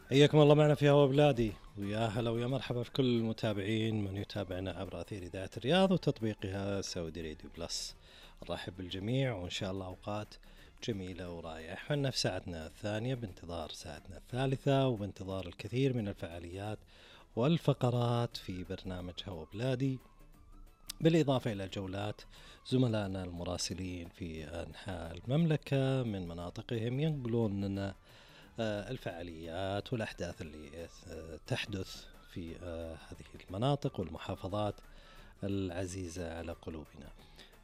حياكم الله معنا في هوا بلادي، ويا هلا ويا مرحبا في كل المتابعين من يتابعنا عبر أثير إذاعة الرياض وتطبيقها سعودي راديو بلس. نرحب بالجميع وإن شاء الله أوقات جميلة ورائعة. احنا في ساعتنا الثانية بانتظار ساعتنا الثالثة وبانتظار الكثير من الفعاليات والفقرات في برنامج هوا بلادي، بالإضافة إلى جولات زملائنا المراسلين في أنحاء المملكة من مناطقهم ينقلون لنا الفعاليات والأحداث اللي تحدث في هذه المناطق والمحافظات العزيزة على قلوبنا.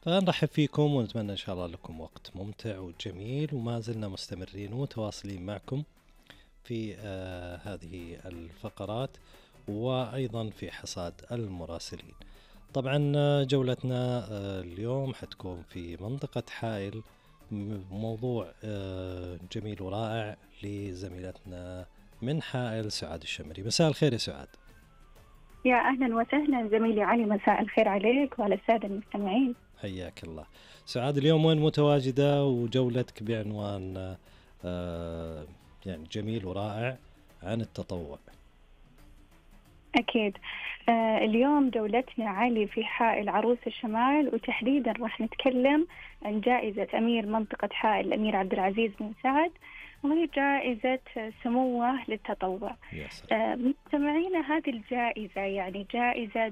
فنرحب فيكم ونتمنى إن شاء الله لكم وقت ممتع وجميل، وما زلنا مستمرين ومتواصلين معكم في هذه الفقرات وأيضا في حصاد المراسلين. طبعا جولتنا اليوم حتكون في منطقة حائل، موضوع جميل ورائع لزميلتنا من حائل سعاد الشمري. مساء الخير يا سعاد. يا أهلا وسهلا زميلي علي، مساء الخير عليك وعلى السادة المستمعين. حياك الله سعاد. اليوم وين متواجدة وجولتك بعنوان يعني جميل ورائع عن التطوع؟ أكيد. اليوم جولتنا علي في حائل عروس الشمال، وتحديدا راح نتكلم عن جائزة أمير منطقة حائل الأمير عبد العزيز بن سعد، وهي جائزة سموه للتطوع. يا سلام. مستمعينا، هذه الجائزة يعني جائزة